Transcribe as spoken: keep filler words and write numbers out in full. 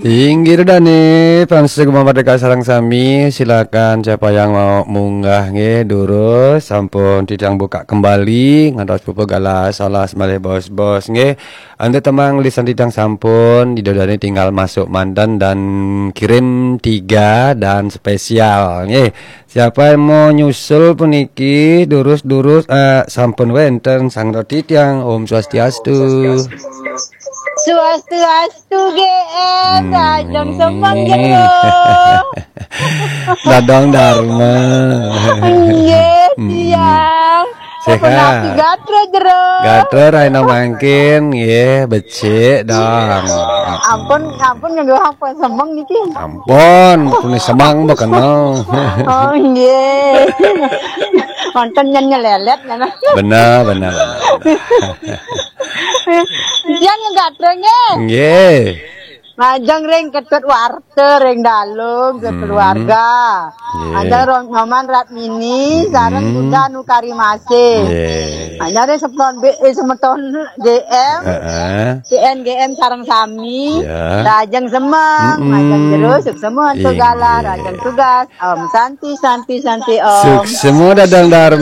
Inggih dah nih, pemirsa Gema Merdeka sareng sami, silakan siapa yang mau munggah nggih, durus sampun titiang buka kembali, ngantos pupuk galah salah malih bos-bos nggih. Anda temang lisan titiang sampun, Ida Dani tinggal masuk manten dan kirim tiga dan spesial nggih. Siapa yang mau nyusul puniki, durus-durus, eh, sampun wenten sang titiang. Om Swastiastu. Swastiastu G M, Hmm. Rajang Semeng jero. Dadang Dharma. Nggih, Hmm. Tiang. Sehat. Sapunapi gatra jero. Gatra raina mangkin nggih becik dong. Ampun, ampun nganggo apa semeng niki? Ampun, punika semeng mboten. Oh, nggih. Wonten nyen nyelelet ngono. Bener, bener, bener. Tiang gatra nggih. Nggih. Majeng ring Ketut Warta ring Dalung Hmm. sekeluarga. Nggih. Majeng ring Nyoman Ratmini sareng Hmm. Bunda Nukari Masih. Nggih. Majeng ring semeton B-, eh, semeton G M, Heeh. C N G M sareng sami. Ya. Rajeng semeng, Mm-mm. majeng jero, suksema antuk Inggih. Galah, rajeng tugas. Om Santi, Santi, Santi, Om. Suksema Dadang Dharma.